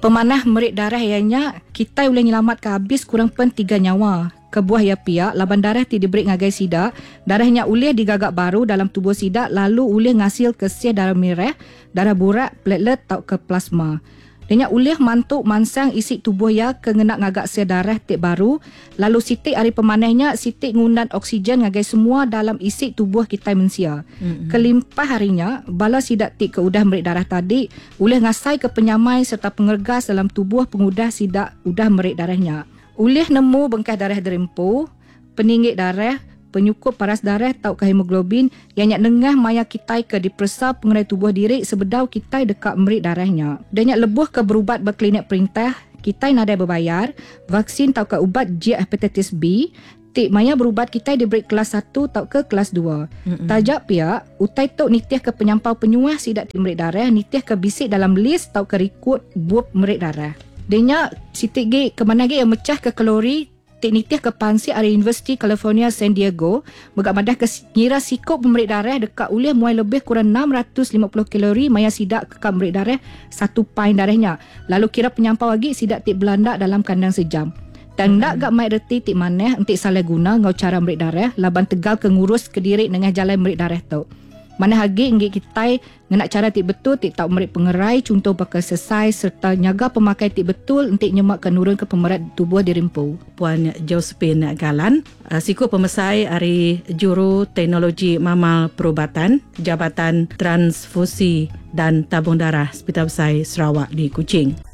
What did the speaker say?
Pemanah meri darah iya nya kitai ulih nyelamatka abis kurang pen tiga nyawa. Kebuah iya pia laban darah ti diberi ngagai sida, darah nya ulih digaga baru dalam tubuh sida lalu ulih ngasilka sel darah mirah, darah burak, platelet tauka plasma. Iya nya ulih mantu mansang isi tubuh iya ke ngena ngaga sel darah ti baru lalu siti ari pemanah nya siti ngundan oksigen ngagai semua dalam isi tubuh kitai mensia. Mm-hmm. Kelimpah ari nya, bala sida ti ke udah meri darah tadi ulih ngasaika penyamai sereta pengeregas dalam tubuh pengudah sida udah meri darah nya. Ulih nemu bengkah darah diri empu, peninggi darah, penyukup paras darah tauka hemoglobin iya nya nengah maya kitai ke diperesa pengerai tubuh diri sebedau kitai deka meri darah nya. Udah nya lebuh ke berubat ba klinik perintah, kitai nadai bebayar, vaksin tauka ubat jiak hepatitis B ti maya berubat kitai diberi kelas satu tauka kelas dua. Taja pia, utai tu nitihka penyampau penyuah sida ti meri darah nitihka bisi dalam lis tauka rikut bup meri darah. Udah nya siti gi ke manah agi iya mechahka kalori ti nitihka pansik ari Universiti California San Diego mega madahka ngira siku pemeri darah deka ulih muai lebih kurang 650 kalori maya sida ke ka meri darah satu pain darah nya lalu kira penyampau agi sida ti belanda dalam kandang sejam. Tang enda ga mai reti ti manah enti salah guna enggau chara meri darah laban tegal ke ngurus kediri nengah jalai meri darah tu. Manah agi enggi kitai Ngena chara ti betul ti tau meri pengerai chunto baka exercise sereta nyaga pemakai ti betul enti nyema ke nurunka pemerat tubuh diri empu. Puan Josephine Galan, siku pemesai ari Juru Teknologi Mamal Perubatan, Jabatan Transfusi dan Tabung Darah Sepital Besai Sarawak di Kuching.